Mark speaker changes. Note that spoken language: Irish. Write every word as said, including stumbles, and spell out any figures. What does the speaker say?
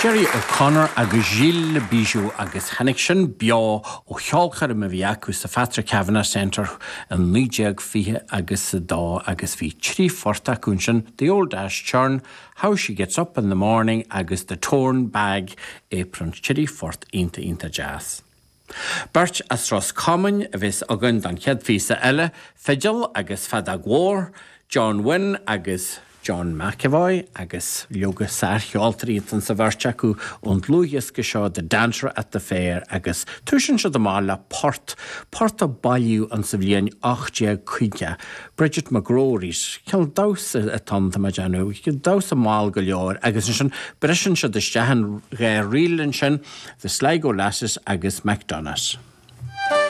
Speaker 1: Gerry O'Connor agus Gilles Bijou agus tháinig sin beo ó cheolchoirm a bhí acu sa Patrick Kavanagh Centre in naoi déag fiche agus a dó agus bhí trí phort acu sin The Old Ash Churn, How She Gets Up in the Morning agus The Torn Bag Apron trí phort iontach iontach deas. Beirt as Ros Comáin a bheas againn don chéad phíosa eile, fidil agus feadóg mhór, John Wynne agus John McEvoy agus leoga sárcheoltóirí an sa bheirt acu ón dlúthdhiosca seo The Dancer at the Fair agus tosaíonn siad amach le port port a bailíodh an sa bhliain ocht déag caoga. Bridget McGrory's cineál damhsa atá ann tá déanamh, damhsa mall go leor agus ansin briseann siad isteach an dhá ríl ansin, The Sligo Lasses agus McDonough's.